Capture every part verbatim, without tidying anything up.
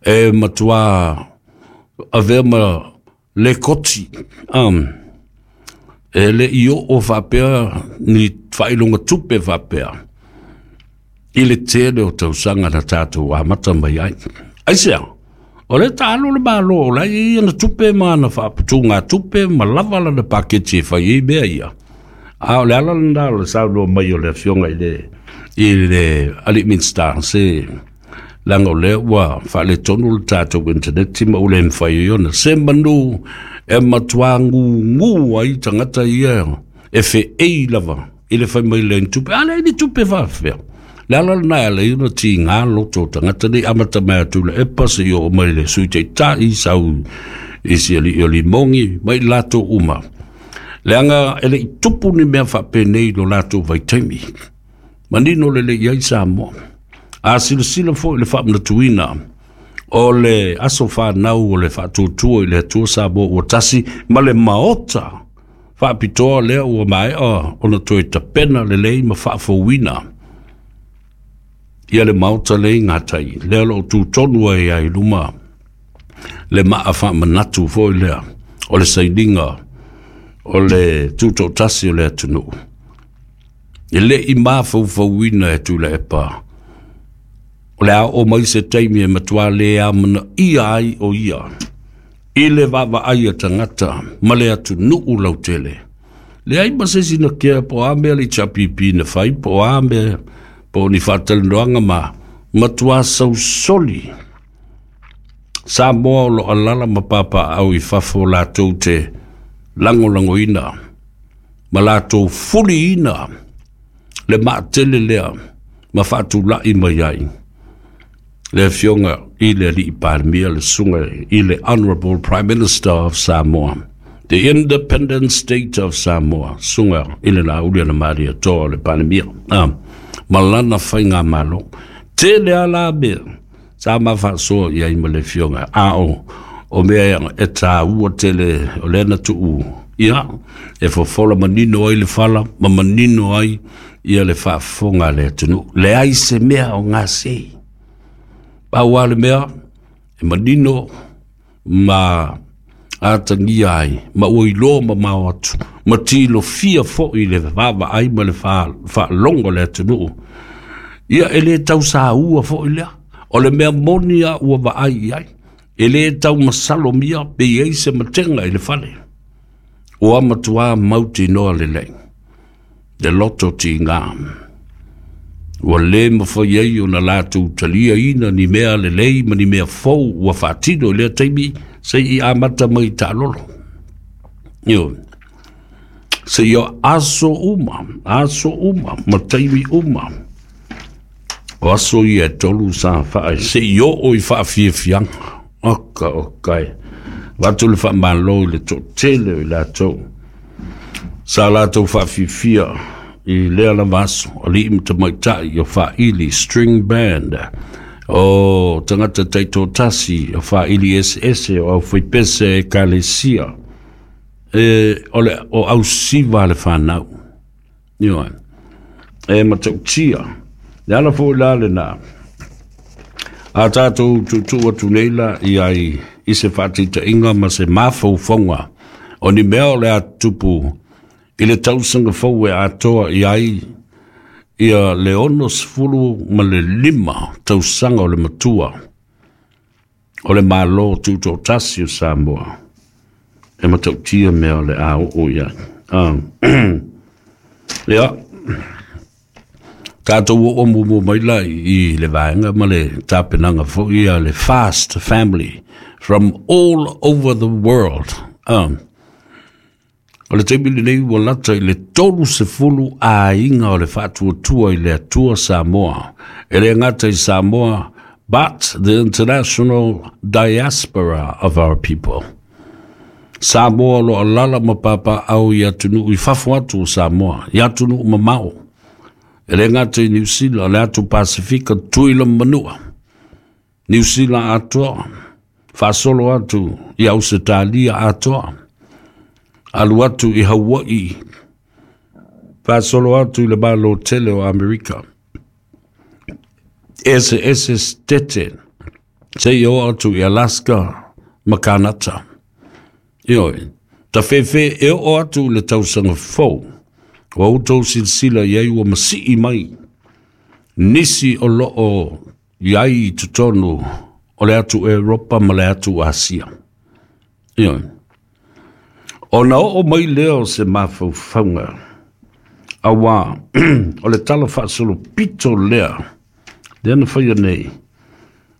E matuā avea ma lekoti um, e leʻi oo faapea ni faailoga tupe faapea i le tele o tausaga na tatou amata mai ai. Aisea? O le taalo le Malo o la e i ana tupe ma ana faaputugatupe ma lava lana paketi e fai ai mea ia. A o le ala lena o le saunoa mai o le afioga i le i le alii Minisita, se leaga o lea ua faaletonu le tatou intaneti ma ua le mafai ai ona se manu e matuā gugū ai tagata ia e feei lava i le fai mai le tupe. A leai ni tupe faafefea. Le ala lena e ala ai ona tigā loto o tagata nei, amata mai atu le epa seia oo mai le Sui Taitai, sau i si alii o Limogi ma i latou uma, leaga e leʻi tupu ni mea faapenei i lo latou vaitaimi. Manino lelei ai Samoa. A silasila foi i le faamanatuina o le aso fanau o le Faatuatua i le Atua Samoa ua Tasi ma le maota faapitoa lea ua maea ona toe tapena lelei ma faafouina ia le maota lea i gatai, lea o lo o tutonu ai ai luma le maa faamanatu foi lea o le sainiga o le tutoatasi o le atunuu. E leʻi mafaufauina e Tuilaepa o le a oo mai se taimi e matuā lē amanaia ai o ia i le vaavaai a tagata ma le atunuu lautele. Leai ma se isi na kea po o a mea le H R P P na fai, po o a mea, po o ni faatalanoaga ma matuā sausoli Samoa o lo alaala ma papaaao i fafo latou te lagolagoina ma latou fuliina le maatele lea ma faatulai mai ai le afioga i le alii Palemia, le susuga i le Honorable Prime Minister of Samoa, the Independent State of Samoa, susuga i le Laaulialemalietoa le Palemia ah, ma lana faigamalo. Tele a la mea sa ma faasoa i ai ma le afioga, a o o mea e tāua tele o lea na tuu ia e fofola manino ai le fala ma manino ai ia le faafofoga a le atunuu. Leai se mea o gasei, pau a le mea e manino ma atagia ai ma ua iloa mamao atu ma tilofia foʻi le vaavaai ma le faalogo le atunuu ia e lē tausaua foʻi lea. O le mea moni a ua vaai i ai, e lē taumasalomia pe i ai se matega i le fale ua matuā mautinoa lelei le loto tigā ua lē mafai ai ona latou taliaina ni mea lelei ma ni mea fou ua faatino i lea taimi seʻi amata mai taalolo io seia aso uma, aso uma ma taimi uma o aso ia e tolu sa faa seʻi oo i faafiafiaga oka okae vatu le faamalo i le toatele o i latou sa latou faafifia i lea lava aso, alii ma tamaitai o Faaili String Band, o tagata taitoatasi o Faaili Eseese, o aufaipese ekalesia e o le o ausiva le fanau ioe e matautia le ala foʻi la lena a tatou tuutuu atu nei la i ai i se faataitaiga ma se mafaufauga o ni mea o le a tupu i le tausaga fou e atoa i ai ia le ono sefulu ma le lima tausaga o le matua o le Malo Tutoatasi o Samoa. E matautia mea o le a oo i ai. Ah. Ia, tatou oo muamua mai la i le vaega ma le tapenaga foʻi a le Fast Family from all over the world. Ah. O le taimi lenei ua lata i le tolu sefulu aiga o le Faatuatua i le Atua Samoa. E le gata i Samoa, but the international diaspora of our people. Samoa o lo alaala ma papaaao i atunuu i fafo atu o Samoa, i atunuu mamao. E le gata i Niu Sila, le atu Pasifika, Tuila ma Manua. Niu Sila atoa, faasolo atu i Ausetalia atoa, alu atu i Hawaii, faasolo atu i le Malo tele o Amerika. Ese ese stete Seia oo atu i Alaska ma Kanata. Ioe, tafefe e oo atu i le tausaga fou, ua outou silasila i ai ua masii mai nisi o loo i ai i totonu o le atu Europa ma le atu Asia. Ioe, ona oo mai lea o se mafaufauga, auā o le tala faasolopito lea lea na faia nei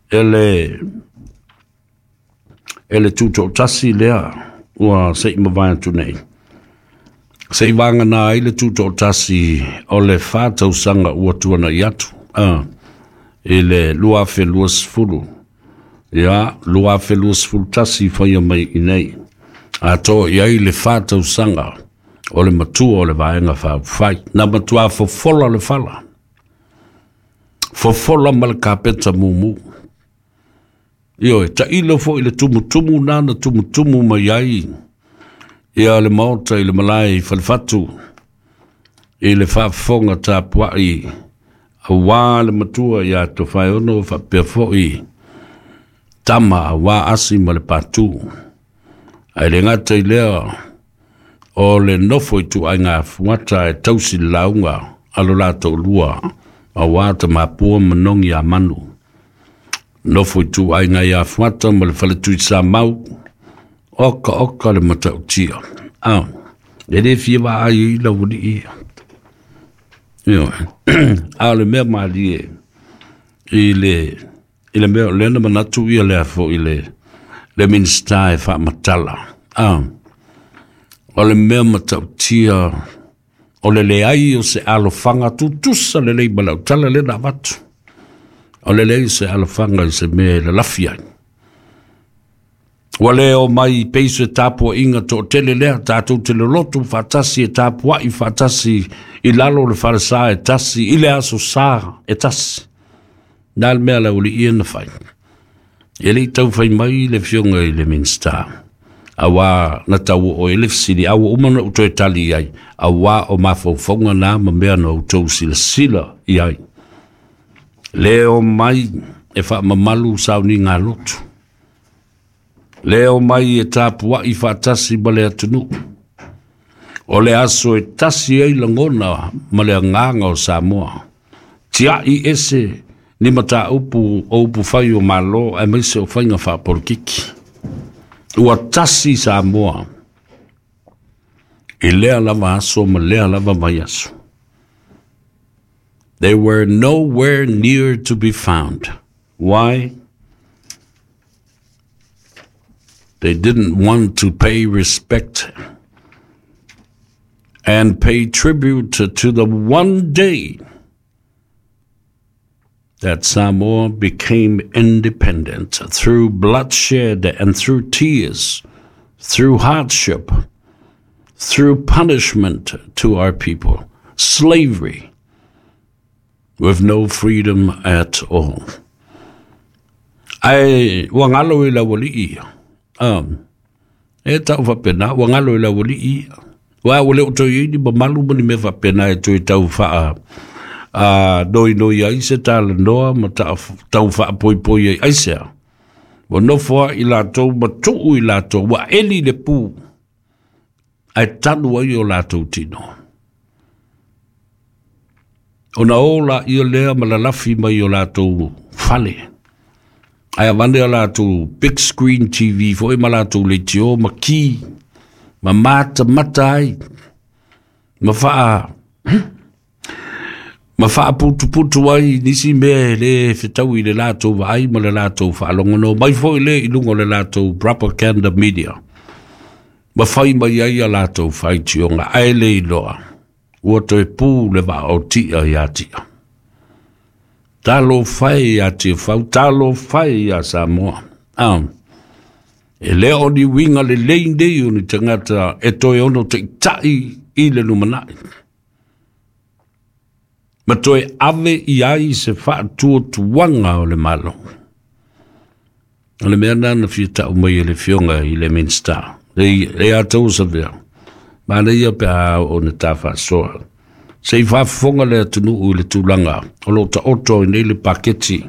e le e le tutoatasi lea ua se i mavae atu nei, se i vagana ai le tutoatasi o le fa tausaga ua tuanai atu a i le lua afe luasefulu, ia lua afe luasefulu tasi faia mai i nei, atoa i ai le fa tausaga o le matua o le Vaega Faaupufai. Na matuā fofola le fala, fofola ma le kapeta mumu. Ioe, tailo foi i le tumutumu na na tumutumu mai ai ia le maota i le malae i Falefatu i le faafofoga tapuai auā le matua ia Tofaeono faapea foi tama auā Asi ma le Patu. Ae le gata i lea o le nofo ituaiga fuata e tausi le lauga a lo latou lua auā Tamapua ma Nogi a Manu. Nofo ituaiga ia Fuata ma le faletui Samau, oka oka le matautia. Ah, e le fia vaai i laualii ia. Ioe, a o le mea malie i le i le mea o lea na manatu ia lea foi le le Minisita e faamatala. Ah, o le mea matautia o le leai o se alofaga tutusa lelei ma lau tala lea na avatu. O le leai o se alofaga i se mea e lalafi ai. Ua le o mai peiso e tapuaiga toatele lea, tatou te lolotu faatasi e tapuai faatasi i lalo o le falesa e tasi, i le aso sa e tasi. Na le mea laualii ia na fai. E le i taufai mai le afioga i le Minisita, auā na tau oo ai le fesili, a ua uma ona ou toe tali i ai, auā o mafaufauga na ma mea na outou silasila i ai. Le o mai e faamamalu sauniga a lotu. Le o mai e tapuai faatasi ma le atunuu. O le aso e tasi ai lagona ma le agaga o Samoa. Tiai ese ni mataupu o upu fai o Malo aemaise o faiga faapolokiki. Ua tasi Samoa i lea lava aso ma lea lava vaiaso. They were nowhere near to be found. Why? They didn't want to pay respect and pay tribute to, to the one day that Samoa became independent through bloodshed and through tears, through hardship, through punishment to our people, slavery, with no freedom at all. Ae ua galo i laualii ia. Um, e tau faapena, ua galo i laualii ia. Ua ua le o toe i ai ni mamalu ma ni mea faapena e toe tau faa a noinoi ai se talanoa ma ta, tau faapoipoi ai aisea. Ua nofo ai latou ma tuu i latou, ua eli le pu, ae tanu ai o latou tino. Ona o laia lea ma lalafi mai o latou fale. Ae avane a latou big screen T V foi ma latou leitio ma ki, ma matamata ai, ma faa ma faaputuputu ai nisi mea e le fetaui i le latou vaai ma le latou faalogono mai foi le i luga o le latou propaganda media. Ma fai mai ai a latou faitioga, ae le iloa ua toe pu le vaa o tia ia tia. Talofa e ia Tiafau, talofa e ia Samoa. Ah, e le o ni uiga lelei nei o ni tagata e toe ono taitai i le lumanai. Ma toe ave i ai se faatuatuaga o le Malo. O le mea na na fia tau mai e le afioga i le Minisita. Le, le a tau savea. Manaia pe a o na tā faasoa. Se i faafofoga le atunuu i le tulaga o lo taoto ai nei le paketi.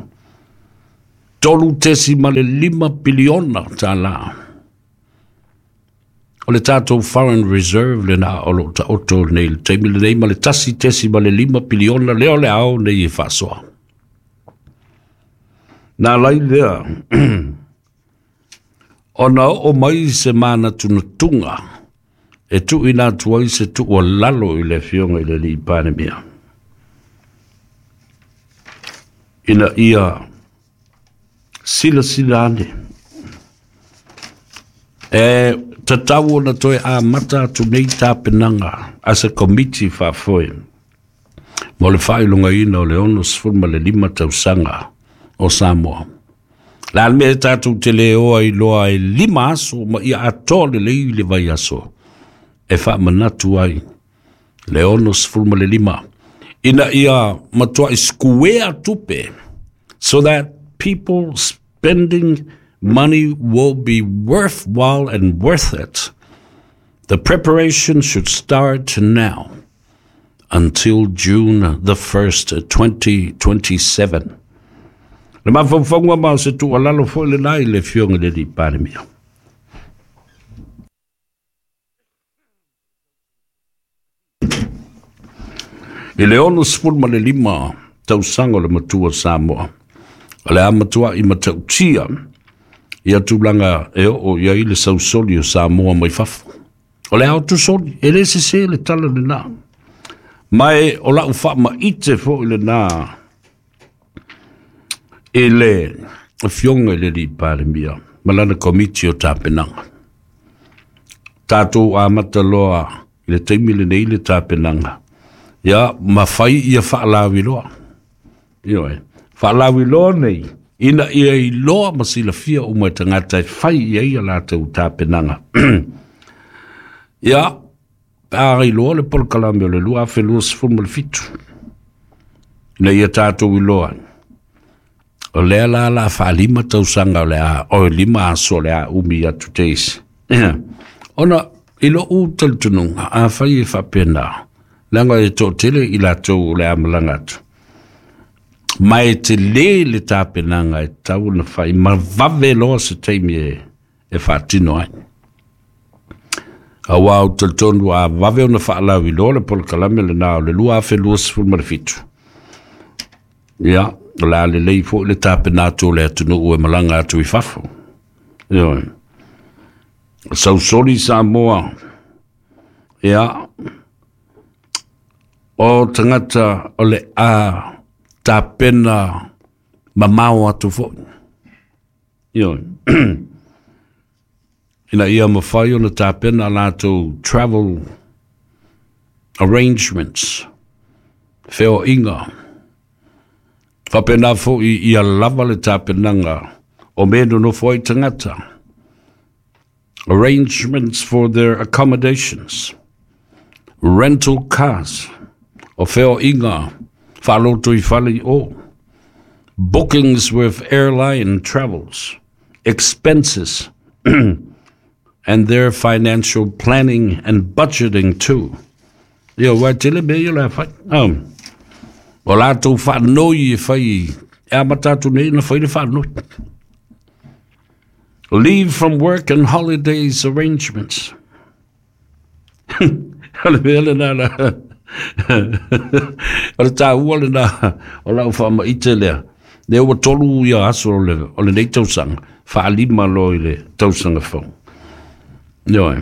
Tolu tesimale lima piliona tālā. O le tātou foreign reserve lena o lo taoto nei le taimi lenei ma le tasi tesimale lima piliona lea o le ao nei e faasoa. Nā lai lea, ona oo mai se manatunatuga e tuuina atu ai se tuualalo i le Afioga i le Alii Palemia, ina ia silasila ane e tatau ona toe amata atu nei tapenaga a se komiti faafoe mo le faailogaina o le ono sefulu ma le lima tausaga o Samoa. La le mea e tatou te le oa iloa e lima aso ma ia atoa lelei le vaiaso e faamanatu ai le ono sefulu ma le lima, ina ia matuai sikuea tupe, so that people spending money will be worthwhile and worth it. The preparation should start now until June the first, twenty twenty-seven. Le mafaufauga ma o se tuualalo foi lenā i le Afioga i le Alii Palemia. I le ono sefulu ma le lima tausaga o le matua Samoa, o le a matua'i matautia ia tulaga e oo i ai le sausoli o Samoa mai fafo. O le ao tusoli, e le sesē le tala lenā. Ma e o la'u faamaite fo'i lenā i le Afioga i le Alii Palemia ma lana komiti o tapenaga. Tatou amata loa i le taimi lenei le tapenaga, ia ma fai ia faalaviloa. Ioe, faalaviloa nei ina ia iloa ma silafia uma e tagata e fai i ai a latou tapenaga. Ia, pe a iloa le polokalame o le lua afe lua sefulu ma le fitu, ina ia tatou iloa o lea la la faalima tausaga o le a o lima aso o le a umi atu teisi. Ona i lo'u talitonuga afai e faapena, leaga e to'atele i latou o le a malaga atu, ma e telē le tapenaga e tatau ona fai ma vave loa se taimi e, e faatino ai. Auā ou talitonu a vave ona faalauiloa le polokalame lenā o le lua afe lua sefulu ma le fitu, ia o le a lelei fo'i le tapena atu o le atunuu e malaga atu i fafo. Ioe, sausoli Samoa, ia o tagata o le a tapena mamao atu fo'i. Ioe, ina ia mafai ona tapena latou travel arrangements, feoaiga, faapena fo'i ia lava le tapenaga o mea nonofo ai tagata, arrangements for their accommodations, rental cars, o feoaiga faaloto i fale i o, bookings with airline travels, expenses, and their financial planning and budgeting too. Ia, ua tele mea ia o le a fai. Um, o latou faanoi e fai, e amata atu nei ona fai le faanoi. Leave from work and holidays arrangements. O le mea lenā la, o le tāua lenā o lau faamaite lea. Lea ua tolu ia aso o le, o lenei tausaga, faalima loa i le tausaga fou. Ioe,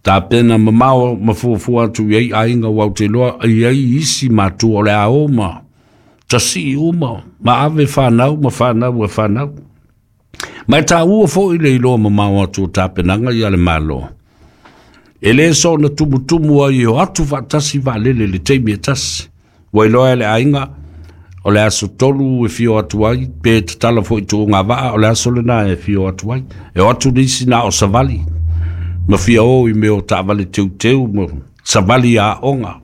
tapena mamao ma fuafua atu i ai aiga ua ou te iloa i ai isi matua o le a o ma tasii uma ma ave whanau ma whanau e whanau. Ma e tāua fo'i le iloa mamao atu o tapenaga ia le Malo. E lē soona tumutumu ai e o atu faatasi vaalele i le taimi e tasi. Ua iloa e le aiga o le aso tolu e fio atu ai, pe tatala fo'i tuuga vaa o le aso lenā e fio atu ai. E o atu nisi na o savali, ma fia o i mea o taavale teuteu ma savali aoga.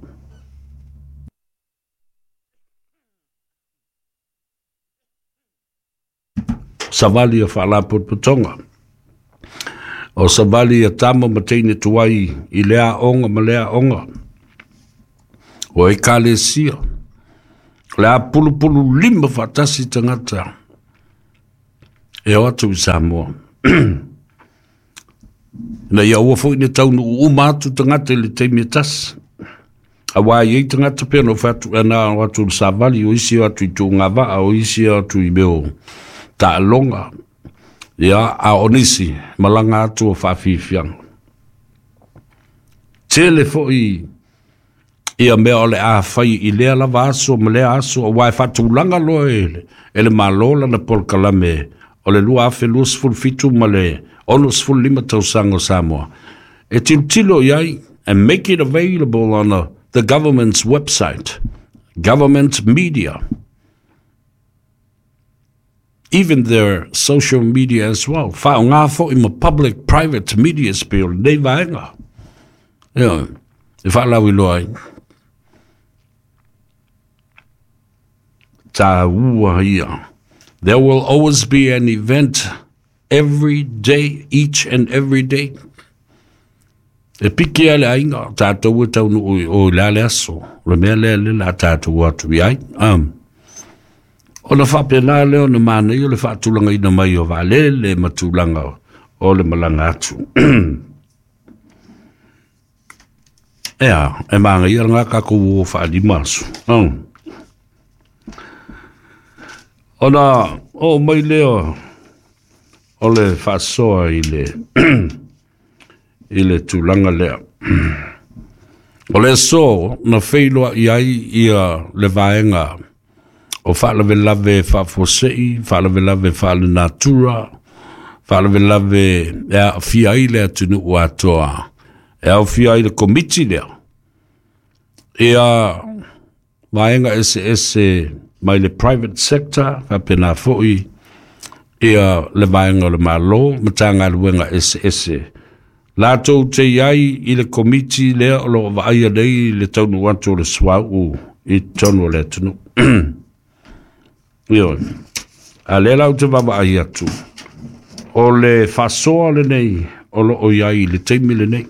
Savali a faalapotopotoga, o savali a tama ma teine tuai i le aoga ma le aoga, o ekalesia, o le a pulupulu lima faatasi tagata E o atu i Samoa. Na ia ua foi ne taunu uma atu tagata i le taimi e tasi. Auā i ai tagata pei ona ou fai atu, ana o atu i le savali, o isi o atu i tugavaa, o isi o atu i mea o taaloga. Ia, a o nisi, malaga atu o faafiafiaga. Tele foi ia mea o le a fai i lea lava aso ma lea aso, auā e faatulaga loa e le, e le Malo lana polokalame o le lua afe luasefulu fitu ma le onosefulu lima tausaga o Samoa. E tilotilo i ai and make it available on a, the government's website, government media, even their social media as well. Faaaoga foi ma public private media pei o lenei vaega. Ioe, e faalauiloa ai. Tāua ia. There will always be an event every day, each and every day. E piki ai le aiga, tatou e taunuu i o i le a le aso, o le mea lea le la tatou atu i ai. Um, ona faapena lea ona manaia o le faatulagaina mai o vaalele ma tulaga o le malaga atu. Ea, e magaia lena tatou o faalima aso. Um. Ona oo mai lea o le faasoa i le i le tulaga lea. O le aso na feiloai ai ia le vaega o faalavelave faafuasei, faalavelave faalenatura, faalavelave e aafia ai le atunuu atoa, e aofia ai le komiti lea. Ia vaega eseese mai le private sector, faapena foi ia le vaega o le Malo, Matagaluega eseese. Latou te i ai i le komiti lea o lo o vaaia nei le taunuu atu o le suauu i totonu o le atunuu. Ioe. A lea la ou te vaavaai atu, o le faasoa lenei o lo o i ai i le taimi lenei.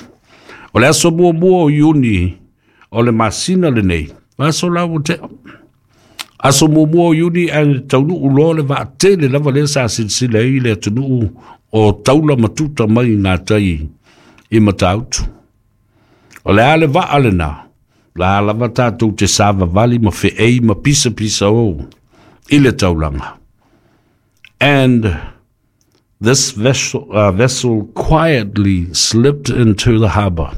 O le aso muamua o Iuni o le masina lenei, aso la ua tea. Aso muamua o Iuni ae taunuu loa le vaatele lava lea sa silasila ai le atunuu o taula ma tuta mai i gatai i Matautu. O le a le vaa lena, la lava tatou te savavali ma feei ma pisapisa o i le taulaga. And this vessel, uh, vessel quietly slipped into the harbour.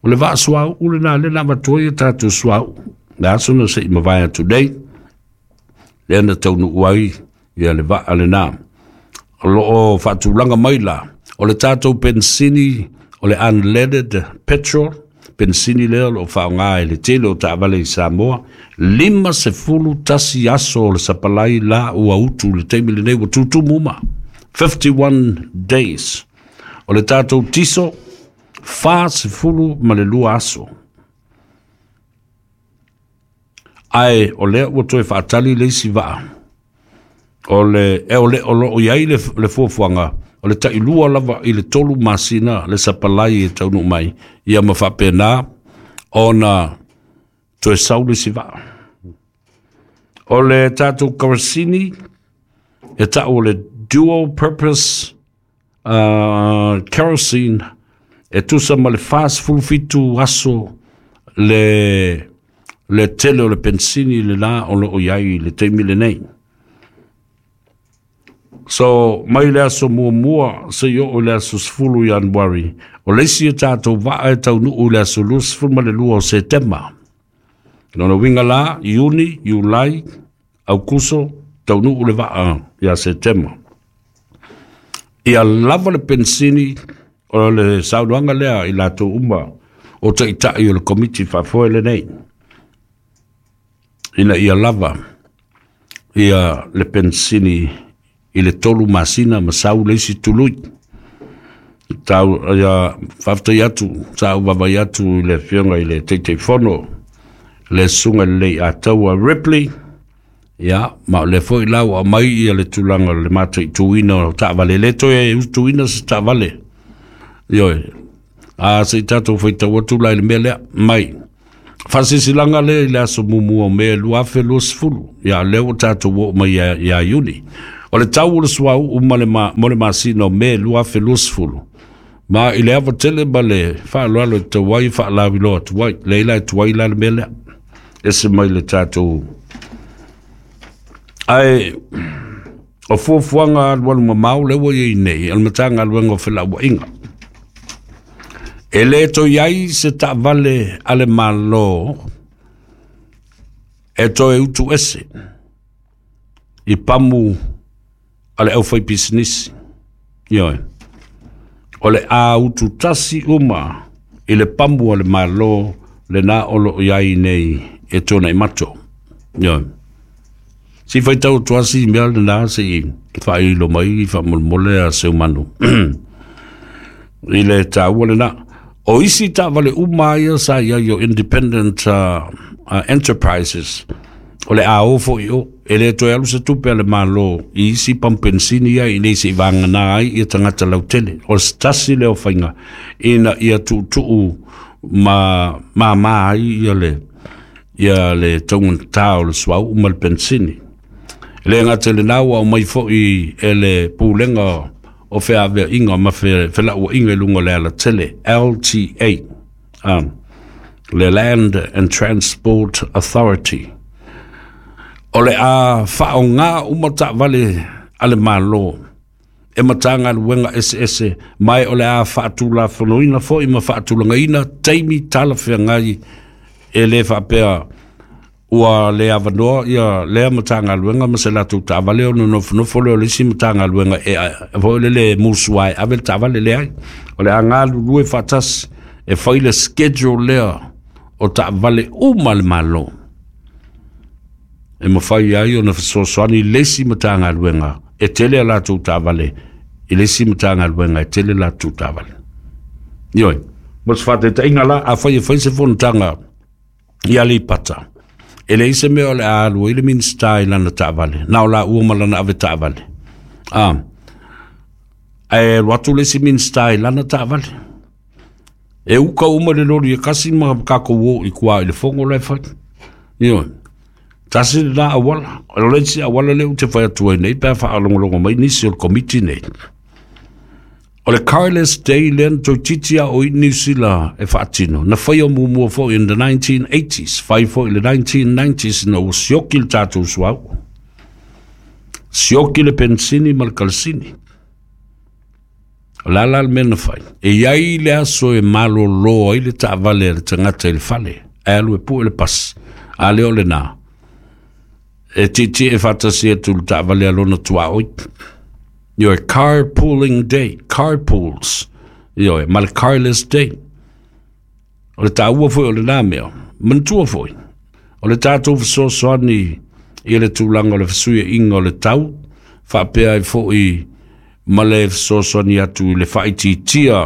O le vaa suauu lena lea na avatu ai a tatou suauu. Le aso na se i mavae atu nei, lea na taunuu ai ia le vaa lena. O lo o faatulaga mai la, o le tatou penisini, o le unleaded petrol, penisini lea o lo o faaaoga e le tele o taavale i Samoa, lima sefulu tasi aso o le sapalai la ua utu le taimi lenei ua tutumu uma. fifty-one days. O le tatou tiso, fa sefulu ma le lua aso. Ae o lea ua toe faatali le isi vaa. O le, e o le o lo o i ai le, le fuafuaga, o le tailua lava i le tolu masina le sapalai e taunuu mai, ia ma faapena ona toe sau le isi vaa. O le tatou kerosene, e tau o le dual purpose uh, kerosene, e tusa ma le fasefulu fitu aso le, le tele o le pensini le la o lo o i ai i le taimi lenei. So, mai le aso muamua, se i oo i le aso sefulu Ianuari, o le isi e tatou vaa e taunuu i le aso luasefulu ma le lua o Setema. Lona uiga la, Iuni, Iulai, Aukuso, taunuu le vaa ia Setema. Ia lava le pensini o le saunoaga lea i latou uma o taitai o le komiti faafoe lenei. Ina ia lava ia le pensini i le tolu masina ma sau le isi tului. Tau, ia, faafetai atu, sa ou vaavaai atu i le afioga i le Taitaifono, le Susuga i le Ataua Ripley, ia, ma o lea foi la ua aumai ia le tulaga o le mataituina o taavale. E le toe utuina se taavale. Ioe, a se i tatou faitau atu la i le mea lea, mai. Faasilasilaga lea i le aso muamua o Me lua afe luasefulu, ia lea ua tatou oo mai ia, ia Iuni. O le tau o le suauu ma le ma, mo le masina o Me lua afe luasefulu. Ma i le ava tele ma le faaaloalo e tau ai faalauiloa atu ai. Lea la e tuai la le mea lea. Ese mai le tatou. Ae o fuafuaga alualu mamao lea ua iai nei o le Matagaluega o Felauaiga. E le toe ai se taavale a le Malo e toe utu ese i pamu a le aufaipisinisi. Ioe. O le a ututasi uma i le pamu a le Malo lena o loo iai nei e tuanai mato. Ioe. Si faitau atu asi mea lena se i faailo mai faamolemole a seumanu. I le taua lena. O isi taavale uma ia sa iai o independent uh, uh, enterprises o le a o foi o e le toe alu se tupe a le Malo i isi pampensini ia i nei se i vagana ai ia tagata lautele. O se tasi lea o faiga ina ia tuutuu ma māmā ai ia le ia le taugatā o le suauu ma le pensini. E le gata i lena ua aumai foi e le Pulega o Feaveaiga ma Felauaiga i luga o le alatele L T A, um, le Land and Transport Authority. O le a faaoga uma taavale a le Malo e Matagaluega eseese mai o le a faatulafonoina foi ma faatulagaina taimi talafeagai e le faapea ua le avanoa ia lea Matagaluega ma se latou taavale ona nofonofo lea o le isi Matagaluega e foi le le musua e ave le taavale leai. O le a galulue faatasi e fai le schedule lea o taavale uma le Malo. E mafai ai ona fesoasoani le isi Matagaluega e tele a latou taavale i le isi Matagaluega e tele latou taavale. Ioe, mo se faataitaiga la, afai e fai se fonotaga i Aleipata, e leai se mea o le a alu ai le Minisita i lana taavale, na o laua ma lana ave taavale. Ah, ae alu atu le isi Minisita i lana taavale. E uka uma le loli e kasi ma kākou o i kua i le fogo la e fai. Ioe. Tasi le la awala. O le isi awala le ou te fai atu ai nei pe a faalogologo mai nisi o le komiti nei. O le Carless Day lea na toeitiiti a o i Niu Sila e faatino. Na faia muamua foi in the nineteen eighties, fai foi i le nineteen nineties ina ua sioki le tatou suauu. Sioki le pensini ma le kalasini. O le a la le mea na fai. E iai le aso e malolo ai le taavale a le tagata i le fale. Ae alu e pue le pasi. A lea o lena. E tietie e faatasi atu le taavale a lona tuaoi. Ioe, carpooling day, carpools. Ioe, ma le carless day. O le taua foi o lena mea. Manatua foi. O le tatou fesoasoani i le tulaga o le fesuiaiga o le tau, faapea ai foi ma le fesoasoani atu i le faaitiitia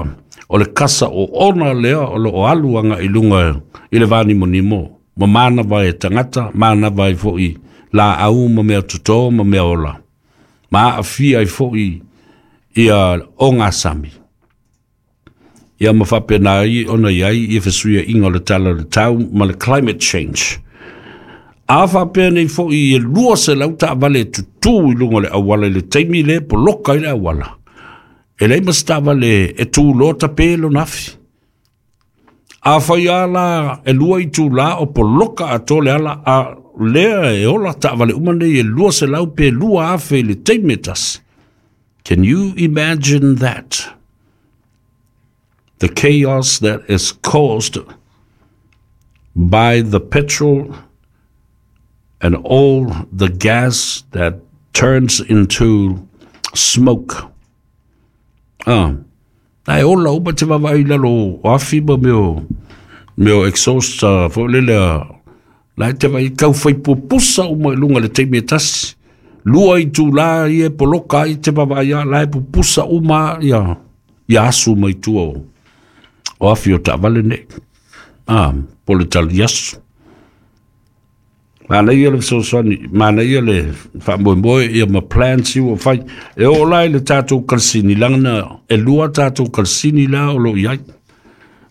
o le kasa o ona lea o loo alu agai luga i le vanimonimo. Ma manava e tagata, manava ai foi laau ma mea totō ma mea ola. Ma aafia ai foi ia ogasami. Ia ma faapena ai ona iai ia fesuiaiga o le tala o le tau ma le climate change. A faapea nei foi e lua selau taavale e tutū i luga o le auala i le taimi le poloka i le auala. E leai ma se taavale e tuloa tape lona afi. A fai a la e lua itulā o poloka atoa le ala a lea e ola taavale uma nei e lua selau pe lua afe i le taimi e tasi. Can you imagine that? The chaos that is caused by the petrol and all the gas that turns into smoke. Ah, ae ola uma te vaavaai i lalo o afi ma mea o mea o exhaust uh, foi lele a la e te vaai kau fai pupusa uma i luga i le taimi e tasi. Lua itulā ia e poloka ai te vaavaai a la e pupusa uma ia ia asu mai tua o o afi o taavale nei. Ah, po le tali aso. Manaia le fesoasoani, manaia le faamoemoe ia ma plans ua fai. E oo la i le tatou kalasini, leaga e lua tatou kalasini la o loo iai.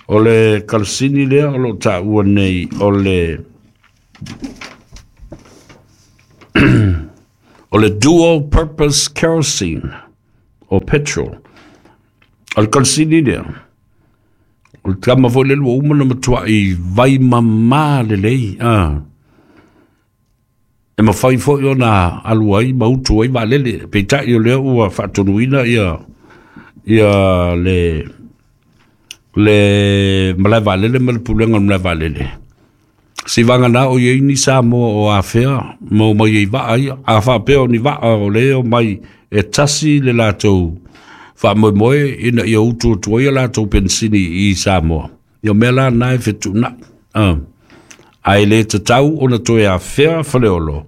O le kalasini lea o loo taua nei o le O le dual purpose kerosene o petrol. O le kalasini lea, o le tama foi le lua uma na matuai vai mamā lelei. Ah. E mafai foi ona alu ai ma utu ai vaalele. Peitai o lea ua faatonuina ia, ia le, le malae vaalele ma le pulega o le malae vaalele. Si vagana o iai ni Samoa o afea ma o mai ai vaa ia. A faapea o ni vaa o le o mai e tasi le latou faamoemoe ina ia utu atu ai a latou penisini i Samoa. Ia mea la na e fetuunai. Ah. Ae le tatau ona toe afea Faleolo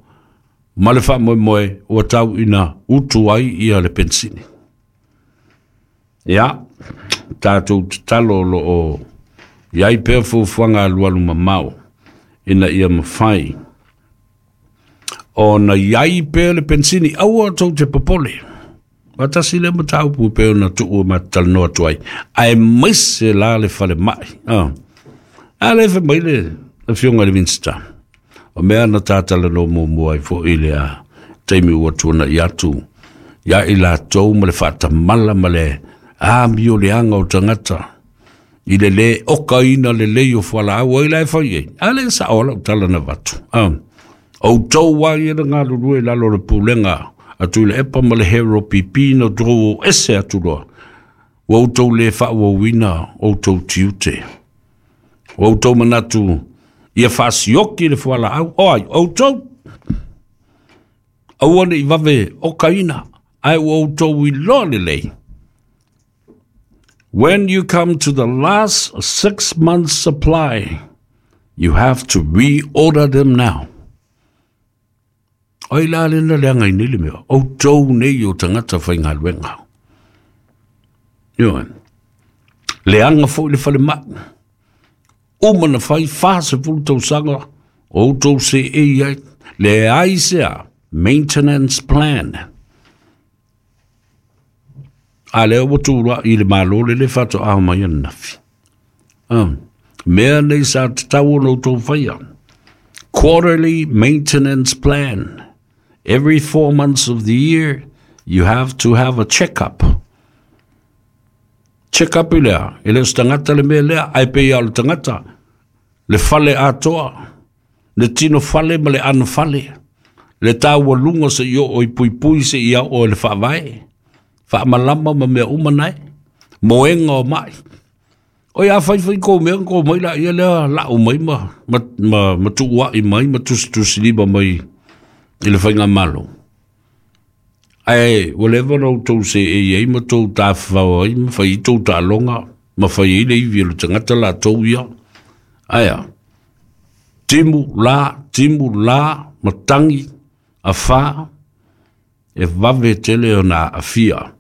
ma le faamoemoe ua tau ina utu ai ia le penisini. Ia, tatou tatalo o lo o iai pea fuafuaga alualu mamao ina ia mafai ona iai pea le penisini, aua tou te popole. Faatasi lea mataupu e pei ona tuu ma talanoa atu ai. Aemaise la le falemai. Ah. A le fai mai le afioga i le Minisita. O mea na tatalanoa muamua ai foi le a taimi ua tuanai atu ia i latou ma le faatamala ma le amio leaga o tagata i le lē okaina lelei o fualaau ai la e fai ai. A le sao lau tala na avatu. Ah. Outou ai e na galulue i lalo o le pulega a Tuilaepa ma le Hero P P na outou o ese atu loa. Ua outou le faaauauina outou tiute. Ua outou manatu ia faasioki le fualaau. O ai, outou. Aua ne i vave okaina, ae ua outou iloa lelei. When you come to the last six months supply, you have to reorder them now. Ai la le na leaga i nei le mea. Outou nei o tagata faigaluega. Ioe. Leaga foi le falemai. Uma na fai fasefulu tausaga o outou seei ai. Leai se a maintenance plan. A lea ua tulai i le Malo le le faatoa mai ananafi. Um, mea nei sa tatau ona outou faia. Quarterly maintenance plan. Every four months of the year, you have to have a check-up. Check-up i lea, e le o se tagata le mea lea, ae pei o le tagata, le fale atoa, le tino fale ma le ano fale, le taualuga se i oo i puipui se i ao e le faavae, faamalama ma mea uma nae, moega o mai. O ia fai fai kou mea kou mai la ia lea lau mai ma, ma, ma, ma tuuai mai ma tusitusilima mai i le faigamalo. Ae ua leva ona outou seei ai ma tou tafafao ai ma fai ai tou taaloga ma fai ai le ivi o le tagata latou ia. Ae a, timu la, timu la, matagi, afā, e vave tele ona aafia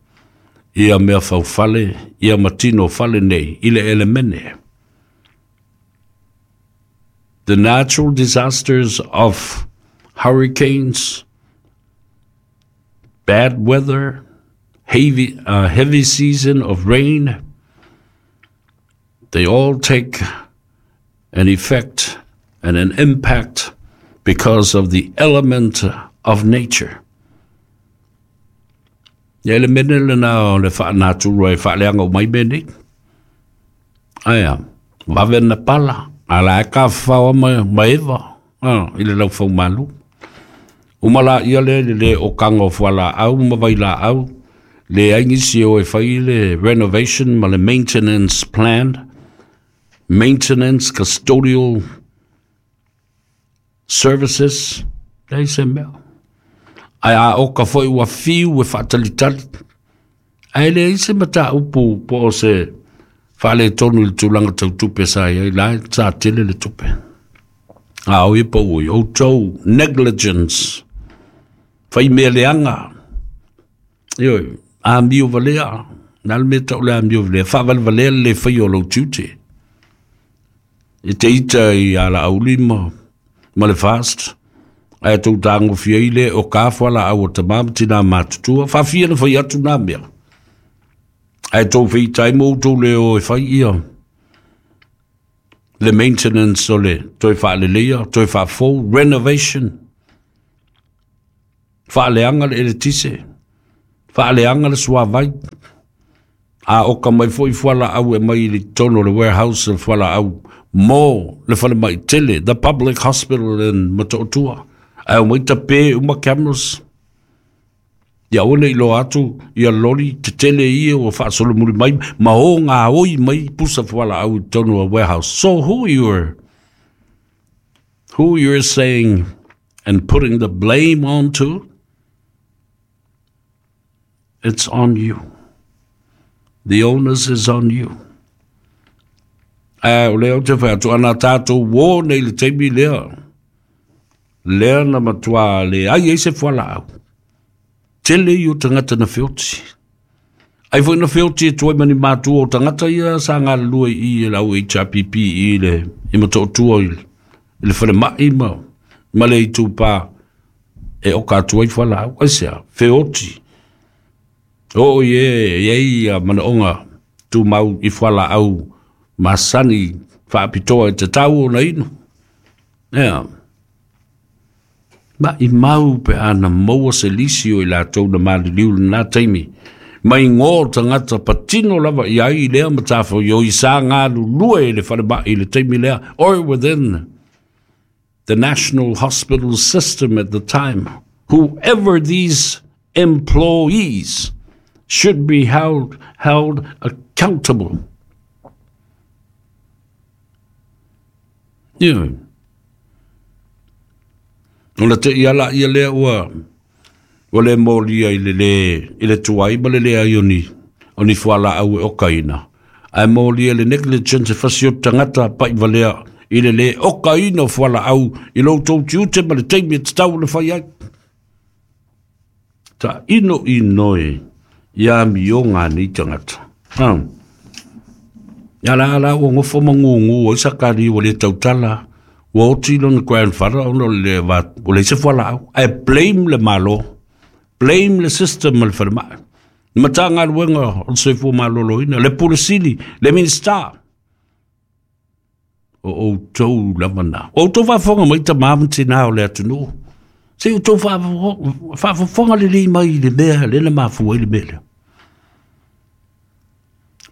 ia mea faufale, ia matino fale nei, i le elemene. The natural disasters of hurricanes, bad weather, heavy, uh, heavy season of rain, they all take an effect and an impact because of the element of nature. Ia elemene lena o le faanaturu ai faaleaga o mai mea nei. Ae a, vave na pala, a la e kafafao ma, ma eva, ah, i le laufaumalu. Uma la ia le le le o kanga o fualaau ma vailaau, leai nisi o e fai le renovation ma le maintenance plan, maintenance custodial services, leai se mea. Ae a oka foi ua fiu e faatalitali. Ae leai se mataupu po o se faaletonu i le tulaga tau tupe sa iai la e sa tele le tupe. A o ia pau i outou negligence. Fai mea leaga. Ioe, amio valea. Na le mea tau le amio valea. Faavalevalea le le faia o lou tiute. E te ita i ala auli ma, ma le fast. Ae tou tagofia ai le o ka fualaau o tamā ma tinā matutua. Faafia na fai atu nā mea. Ae tou feitai ma outou le o e fai ia le maintenance o le toe faaleleia, toe faafou, renovation. Faaleaga le eletise, faaleaga le suavai, a oka mai foʻi fualaau e mai i le totonu o le warehouse o fualaau mo le falemai tele, the public hospital in Motootua, ae omai tapē uma cameras. Ia aua nei iloa atu ia loli tetele ia ua faasolomuli mai ma o gaoi mai pusa fualaau i totonu o warehouse. So who you're who you're saying and putting the blame onto, it's on you. The onus is on you. Ae o lea ou te fai atu ana tatou uō nei i le taimi lea, lea na matuā leai ai se fualaau. Tele ia o tagata na feoti. Ai foi na feoti e tuai ma ni matua o tagata ia sa galulue i i le au H R P P i le i Motootua i le falemai ma ma le itupā e oka atu ai fualaau. Aisea? Feoti. Oo i e i ai ia manaoga tumau i fualaau masani faapitoa e tatau ona inu. Ea. Maʻimau pe ana maua se lisi o i latou na maliliu lenā taimi, mai gō tagata patino lava i ai i lea matafaioi sa galulue i le falemai i le taimi lea, or within the national hospital system at the time. Whoever these employees should be held, held accountable. Ioe. Ona teʻi ala ia lea ua ua le molia i le lē i le tuai ma le leai o ni o ni fualaau e okaina, ae molia le negligence e fasi o tagata paʻivalea i le lē okaina o fualaau i lo outou tiute ma le taimi e tatau ona fai ai. Taʻino inoe ia amioga a nei tagata. Ah. Ia la ala ua gofo ma gugū ai Sakari ua lē tautala, ua oti lona grandfather ona o le va ua leai se fualaau, ae blame le Malo, blame le system ma le falemai, le Matagaluega o le Soifua Maloloina, le Pule Sili, le Minisita. O outou lava na. O outou faafofoga mai tamā ma tinā o le atunuu. Se i outou faafofoga lelei mai i le mea lea na mafua ai le mea lea.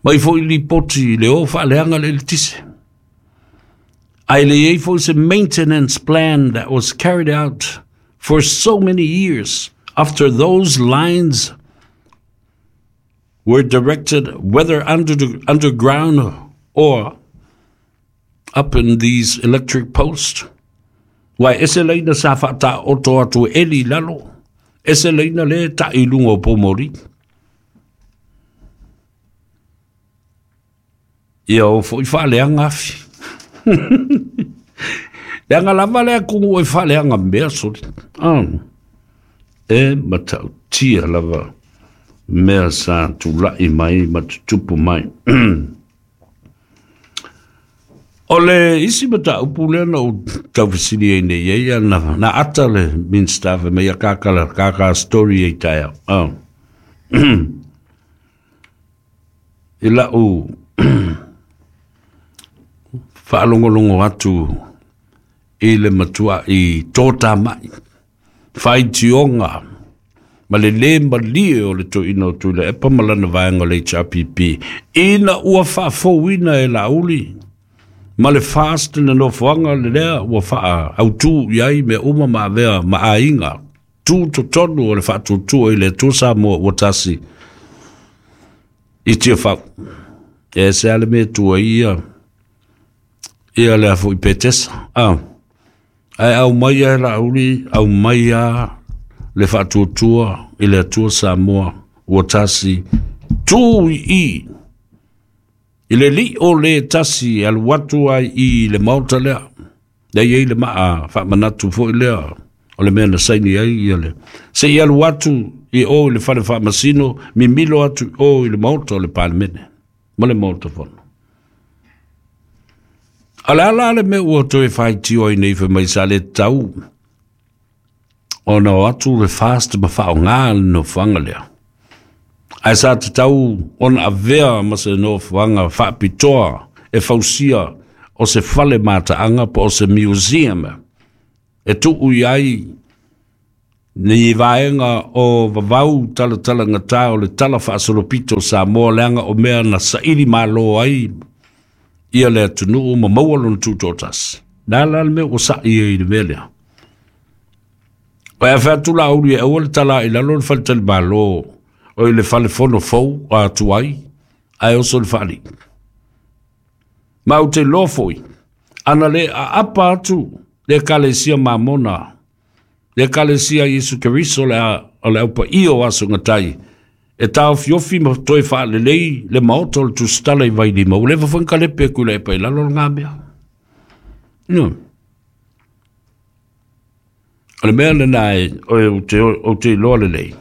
Mai foi lipoti i le o faaleaga le eletise. Ae le i ai foi se maintenance plan that was carried out for so many years after those lines were directed, whether under the, underground or up in these electric posts. Uae ese laina sa faataoto atu e eli i lalo, ese laina le taʻi i luga o poumoli. Ia o foʻi faaleaga afi. Leaga lava lea kugu e faaleaga mea soli. Ah. E matautia lava mea sa tulaʻi mai ma tutupu mai. O le isi mataupu lea na ou taufesili ai nei ai ia na, na ata le Minista fai mai ia kakala kaka story ai taeao. Ah. I lau faalogologo atu i le matuaʻi tōtāmaʻi, faitioga ma le lē malie o le toeaina o Tuilaepa ma lana vaega o le H R P P, ina ua faafouina e Laauli ma le fast le nofoaga le lea ua faautū i ai mea uma ma avea ma aiga tu totonu o le faatuatua i le Atua Samoa ua tasi i Tiafau. E se a le mea tua ia ia le afoʻi Petesa. Ah. Ae aumai e Laauli, aumai a le faatuatua i le Atua Samoa ua tasi tu i i i le lio le tasi e alu atu ai i le maota lea. Lea i ai le maa faamanatu foʻi lea o le mea na saini ai ia le. Se i alu atu i o i le fale faamasino, mimilo atu i o i le maota o le Palemene ma le maota fono. A le ala le mea ua toe faitio ai nei fai mai sa le tatau ona o atu le fast ma faaaoga le nofoaga lea. Ae sa tatau ona avea ma se nofoaga faapitoa e fausia o se fale mataaga po o se museum e tuu i ai Ni vaenga o vavau tala tala ngata o le tala faasolopito o Samoa leaga o mea na saili malo ai ia le atunuu ma maua lona tutoatasi. Na la le mea ua sa'i ai i le mea lea. O e afe atu Laauli e aua le tala i lalo le faletalimalo o i le falefono fou a atu ai ae oso le faalii. Ma ou te iloa foi, ana le aapa atu le Ekalesia Mamona, le Ekalesia Iesu Keriso le o le aupaia o aso gatai, e taofiofi ma toe faalelei le maota o le tusitala i Vailima, ua leva foi ona kalepe atu i Laepa i lalo lena mea. No. O le mea lena e ou te, ou te iloa lelei,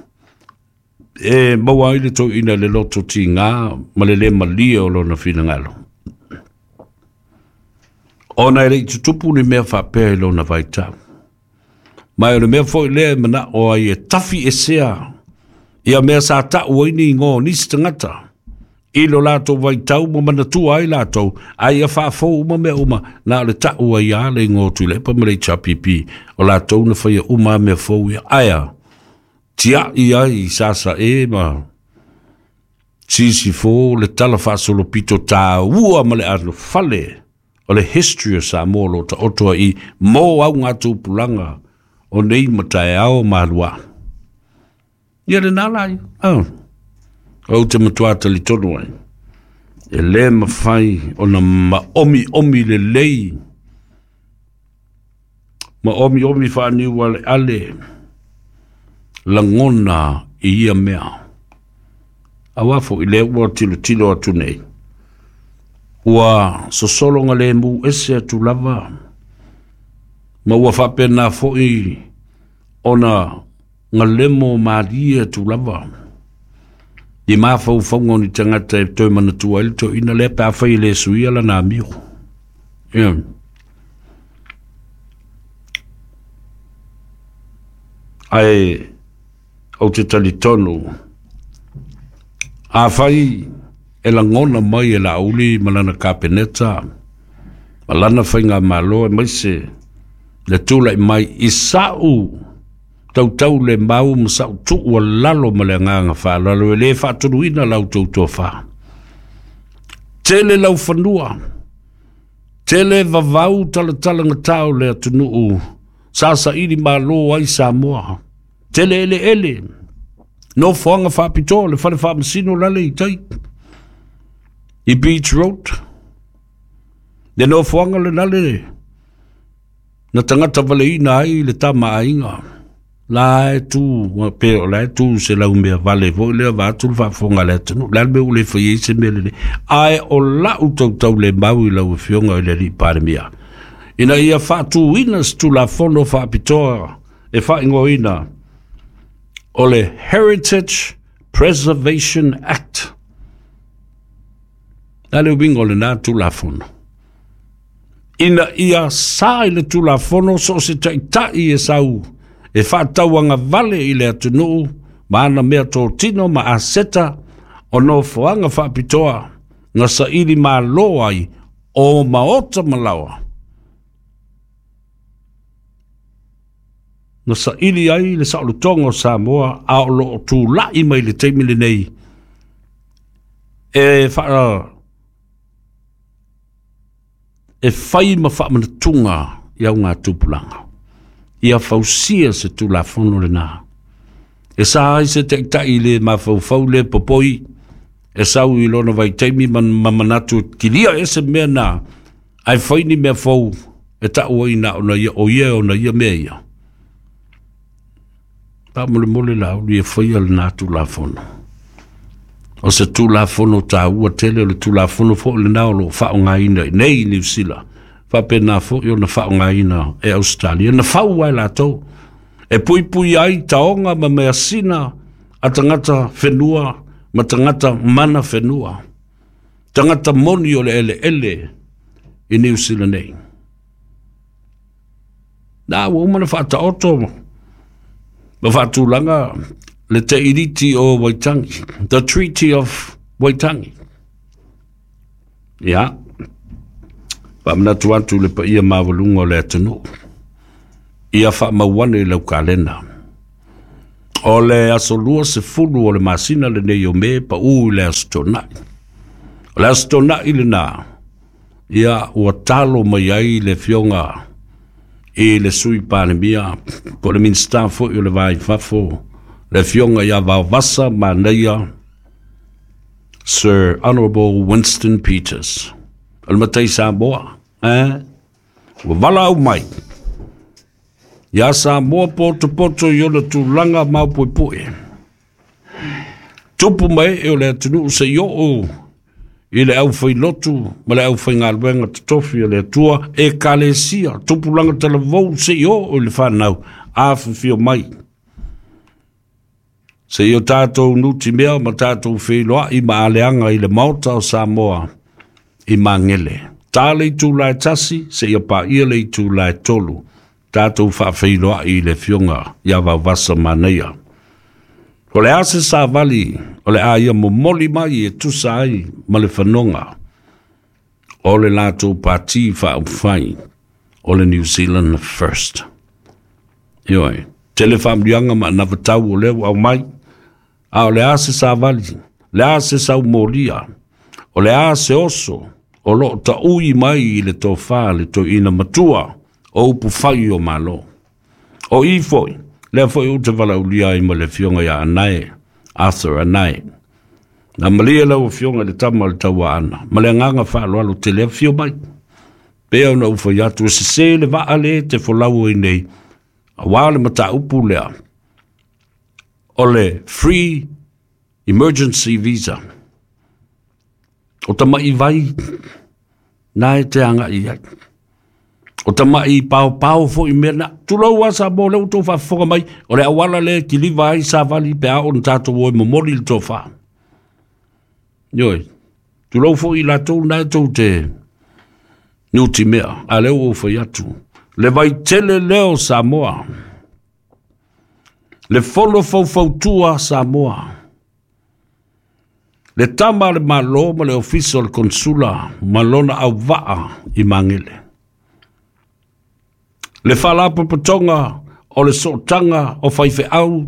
e maua ai le toeaina i le loto tigā ma le lē malie o lona finagalo. Ona e le'i tutupu ni mea faapea i lona vaitau. Ma o le mea foi lea e mana'o ai e tafi esea ia mea sa ta'u ai ni igoa o nisi tagata i lo latou vaitau ma manatua ai latou, a ia faafou uma mea uma, na o le ta'u ai lava le igoa o Tuilaepa ma le H R P P o latou na faia uma mea fou ia. Ae tia'i ai i Sasae ma Sisifo le tala faasolopito tāua ma le alofale o le history o Samoa o lo o taoto ai mo augatupulaga o nei ma taeao ma aluā. Ia lenā la ia. Oh. Ou te matuā talitonu ai. E lē mafai ona maomiomi lelei, maomiomi faaniu aleale lagona i ia mea. Auā fo'i lea ua tilotilo atu nei, ua sosolo galemu ese atu lava, ma ua faapenā fo'i ona galemo malie atu lava i mafaufauga o ni tagata e toe manatua ai le toeaina lea pe afai e lē suia lana amio. Ia. Ae ou te talitonu, afai e lagona mai e Laauli ma lana Kapeneta ma lana faigamalo aemaise le tula'i mai i sa'u tautau le mau ma sa'u tu'u alalo ma le agaga faaaloalo e lē faatonuina la outou tofā. Tele laufanua, tele vavau talatalagatā o le atunuu sa saili mālō ai Samoa, tele eleele, nofoaga faapitoa, le fale faamasino lale i tai i Beach Road, le nofoaga lenale na tagata valeina ai le tamaaiga la e tu pe o la e tu se lau mea vale foi lea vaeatu le faafofoga a le atunuu. Le a le mea ua le fai ai se mea lelei? Ae o la'u tautau le mau i lau afioga i le alii Palemia ina ia faatūina se Tulafono faapitoa e faaigoaina o le Heritage Preservation Act. Le a le uiga o lenā Tulafono? Ina ia sa i le Tulafono so o se ta'ita'i e sau e faatauagavale i le atunuu ma ana mea totino ma aseta o nofoaga faapitoa na saili mālō ai o maota ma laoa na saili ai le saolotoga o Samoa a o loo tula'i mai le taimi lenei e faa e fai ma faamanatuga i augatupulaga. Ia fausia se Tulafono lenā e sa ai se ta'ita'i le mafaufau le popoi e sau i lona vaitaimi ma, ma manatu kilia ese mea na ae fai ni mea fou e ta'u ai na ona ia o ia ona ia mea ia. Faamolemole Laauli e faia lenā Tulafono. O se Tulafono tāua tele, o le Tulafono fo'i lenā o loo faaaogāina i nei i Niusila, faapenā fo'i ona faaaogāina e Ausetalia na fau ai latou e puipui ai taoga ma measina a tagata whenua ma tagata mana whenua, tagata moni o le eleele i Niusila nei. Na ua uma na faataoto ma faatulaga le Teiriti o Waitangi, the Treaty of Waitangi. Ia, faamanatu atu le paia maualuga o le atunuu, ia faamau ane i lau kalena. O le aso lua sefulu o le masina lenei o Me pa u i le aso Toonai. O le aso Toonai lena, ia ua talo mai ai le afioga i le Sui Palemia, po o le Minisita foi o le Va i Fafo, le afioga ia Vaovasa Manaia Sir Honourable Winston Peters. O le matai Samoa, eh? Ua valaau mai ia Samoa potopoto i ona tulaga maopoepoe. Tupu mai e o le atunuu seia oo i le aufailotu ma le aufaigaluega totofi o le Atua, ekalesia, tupulaga talavou seia oo i le fanau, afifio mai. Seia o tatou nutimea ma tatou feiloai ma aleaga i le Maota o Samoa i Magele. Ta le itula e tasi, seia paia le itula e tolu. Tatou faafeiloai i le afioga ia Vaovasa Manaia. O le a se savali o le a ia momoli mai e tusa ai ma le fanoga o le latou pati faaupufai o le New Zealand First. Ioe, tele faamanuiaga ma anavatau o lea ua aumai, a o le a se savali, le a se saumolia, o le a se oso o loo taui mai i le tofa le toeaina matua o upufai o Malo. O i foi, lea foi ou te valaaulia ai ma le afioga ia Anae, Arthur Anae. Na malie lau afioga i le tama o le tauaana, ma le agaga faaaloalo tele afio mai. Pea ona ou fai atu e sese le vaa le te folau ai nei, auā le mataupu lea, o le free emergency visa. O tamai vai na e te agai ai. O tamai paopao foi mea na. Tulou lava Samoa lea ua outou faafofoga mai, o le auala lea e kiliva ai savali pe a oo ina tatou o e momoli le tofa. Ioe, tulou foi i latou na e tou te nutimea, a lea ua ou fai atu. Le vaitele lea o Samoa, le fono faufautua a Samoa, le tama a le Malo ma le Ofisa o le Konsula ma lona auvaa i Magele. Le faalapotopotoga o le sootaga o faifeau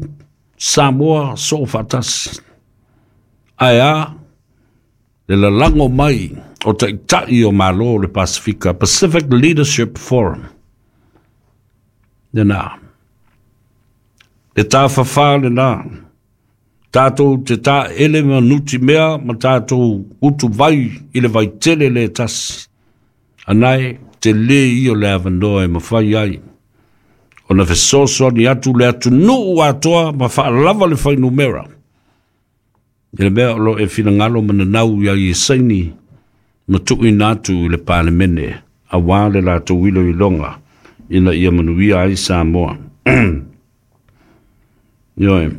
Samoa soofaatasi. Ae a le lalago mai o taitai o Malo o le Pasefika, Pacific Leadership Forum. Lena. Le tafafā lena. Tatou te taele ma nutimea ma tatou utuvai i le vaitele le tasi. Anae te lē ia o le avanoa e mafai ai ona fesoasoani atu le atunuu atoa ma faalava le fuainumera i le mea o lo o e finagalo ma nanau i ai e saini ma tuuina atu i le Palemene auā le latou iloiloga ina ia manuia ai Samoa. Ioe,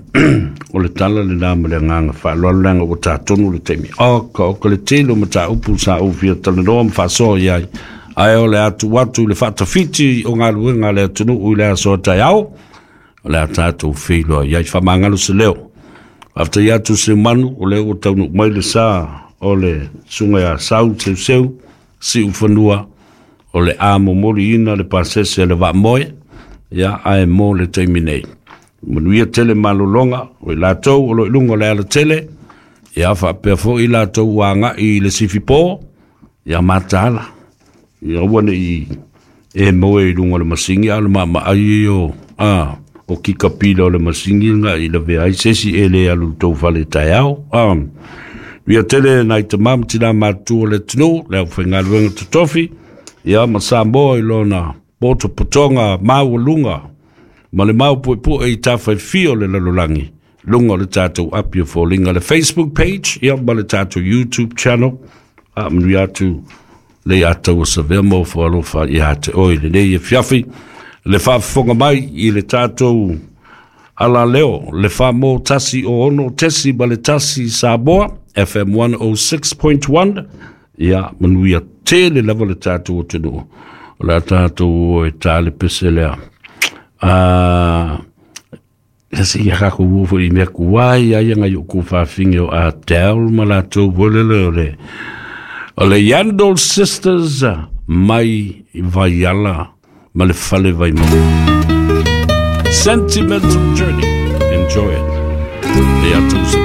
o le tala lena ma le agaga faaaloalo leaga ua tatonu le taimi. Oka, oka le tele o mataupu sa ou fia talanoa ma faasoa i ai, ae o le atu atu i le faatafiti o galuega a le atunuu i le aso a taeao, o le a tatou feiloa i ai. Faamagalo se leo. Faafetai atu Seumanu, o lea ua taunuu mai le sa o le susuga ia Sau Seuseu, Siufanua, o le a momoliina le pasese a le vaamoe, ia ae mo le taimi nei. Manuia tele malologa o i latou o lo o i luga o le alatele, ia faapea foi i latou ua agai i le sifipo, ia mataala. Ia aua ne i e moe i luga o le masigi, a o le maamaai ia o, a, o kikapila o le masigi nga i lavea ai se isi e le alu i le tou fale taeao. A, ia tele nai tamā ma tinā matutua o le atunuu, le aufaigaluega totofi, ia ma Samoa i lona potopotoga maualuga ma le maopuepue i tafaifia o le lalolagi, luga o le tatou api o foliga, le Facebook page, ia ma le tatou YouTube channel. Faamanuia atu le Iatauasavea ma ofo alofa ia te oe i lenei afiafi, le faafofoga mai i le tatou alaleo, le fa mo tasi o ono tesi ma le tasi Samoa, F M one oh six point one, ia manuia tele lava le tatou atunuu. O le a tatou o e tā le pese lea. Ah, se ia ka ku fo i mea kuai ai ngai o ku faafinge o Adele ma latou volele o le o le Yandle Sisters mai Vaiala ma le fale Vaimauga. Sentimental Journey. Enjoy it. E atu se.